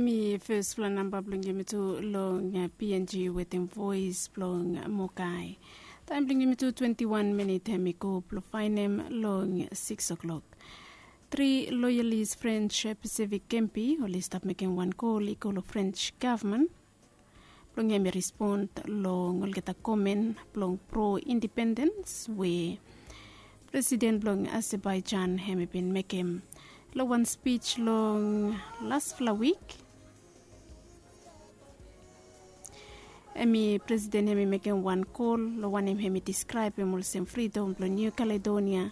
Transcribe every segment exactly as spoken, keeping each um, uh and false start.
Mi fes fla namba blong yumi tu long png wetem voes blong mokai. Taem blong yumi tu twenti wan minit hem i go blong faenem long siks o'klok. Tri loyalis french pacific kempi oli stap mekem wan kol i go long french gavman blong hem i respon long olgeta komen blong pro independens we presiden blong azerbaijan hem i bin mekem long wan spij long lasfala wik. Hem i presiden hem i mekem wan kol long wanem hem i diskraebem olsem fridom blong niu kaledonia,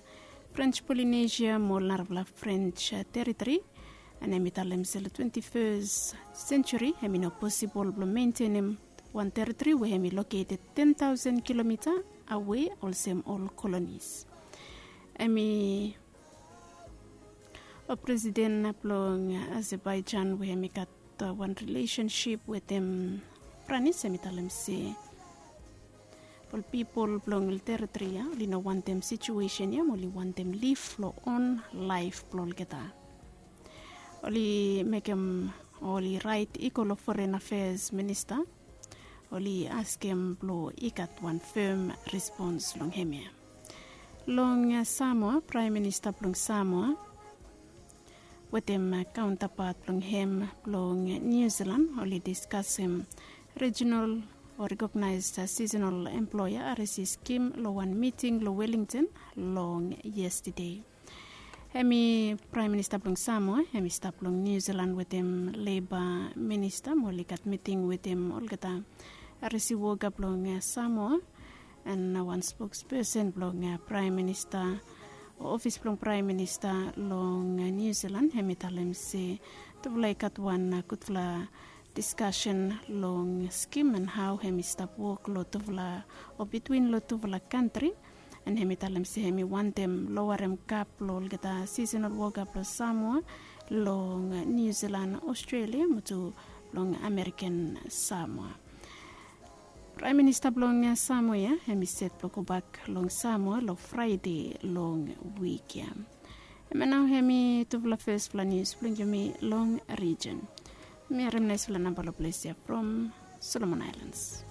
french polinesia mo ol narafala french teritori. An hem i talem se long twenti fes senjuri hem i no posibol blong mentenem wan teritori we hem i loketed ten taosen kilomita awe olsem ol kolonis. Hem i ol presiden blong azerbaijan we hem i gat wan rilesensip wetem franis hem i talem se ol pipol blong ol teritori ya oli no wantem situesen ya mo oli wantem lif long on laef blong olgeta. Oli mekem oli raet i go long foren afeas minista oli askem blong i gat wan fem respons long hem ya. Long samoa praem minista blong samoa wetem kaontapat blong hem blong niu zilan oli diskasem rejinal o rekognaes sisonal emploea aresi skim long wan miting long wellington long yestade. Hem i praem minista blong samoa hem i stap long niu zilan wetem leba minista mo oli gat miting wetem olgeta aresi woka blong samoa. An wan spokspesen blong praem minista o ofis blong praem minista long niu zilan hem i talem se tufala i gat wan gudfala diskasen long skim an hao hem i stap wok long tufala o bitwin long tufala kantri. An hem i talem se hem i wantem lowarem kap long olgeta sisonal woka blong samoa long niu zilan, aostrelia mo tu blong amerikan samoa. Praem minista blong samoa ya hem i set blong gobak long samoa long fraede long wik ya. Hem ya nao hem i tufala fesfala nius blong yumi long rijen. Mi harim naisfala namba long ples ya from solomon ailans.